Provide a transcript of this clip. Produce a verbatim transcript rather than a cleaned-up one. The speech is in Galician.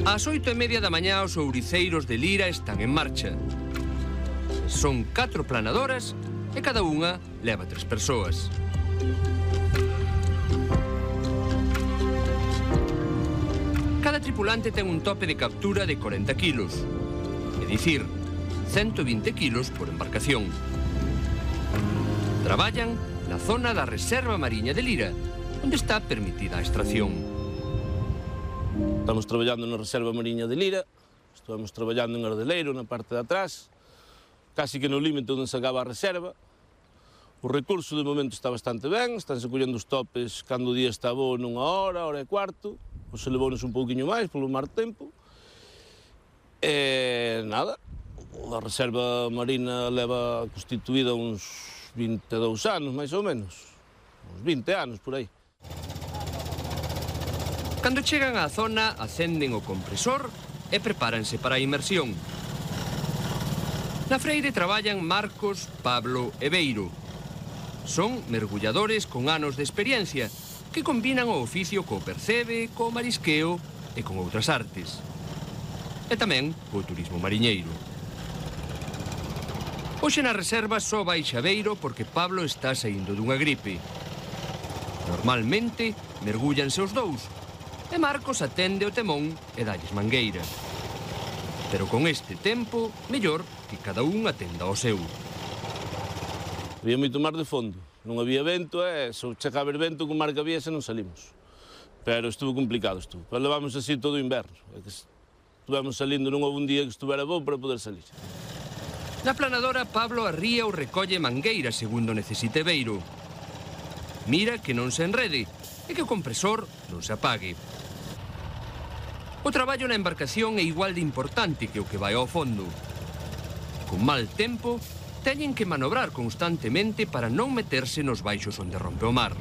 Ás oito e media da mañá os ouriceiros de Lira están en marcha. Son catro planadoras e cada unha leva tres persoas. Cada tripulante ten un tope de captura de corenta kilos, é dicir, ciento vinte kilos por embarcación. Traballan na zona da Reserva Mariña de Lira, onde está permitida a extracción. Estamos traballando na Reserva Mariña de Lira, estamos traballando en Ardeleiro, na parte de atrás, casi que no límite onde se acaba a reserva. O recurso de momento está bastante ben, estánse collendo os topes cando o día está bo nunha hora, hora e cuarto, ou se levounos un pouquiño máis polo mar tempo. E nada, a Reserva Marina leva constituída uns vinte e dous anos, máis ou menos, uns vinte anos por aí. Cando chegan á zona, acenden o compresor e prepáranse para a inmersión. Na freire traballan Marcos, Pablo e Beiro. Son mergulladores con anos de experiencia que combinan o oficio co percebe, co marisqueo e con outras artes. E tamén co turismo mariñeiro. Hoxe na reserva só baixa Beiro porque Pablo está saindo dunha gripe. Normalmente mergullanse os dous e Marcos atende o temón e dalles mangueira. Pero con este tempo, mellor que cada un atenda ao seu. Había moito mar de fondo, non había vento e se chega a haber vento con mar que había se non salimos. Pero estuvo complicado, estuvo. Pero levamos así todo o inverno. Estuvemos salindo non houve un día que estuvera bo para poder salir. Na planadora, Pablo arría ou recolle mangueira segundo necesite Beiro. Mira que non se enrede e que o compresor non se apague. O traballo na embarcación é igual de importante que o que vai ao fondo. Con mal tempo, teñen que manobrar constantemente para non meterse nos baixos onde rompe o mar.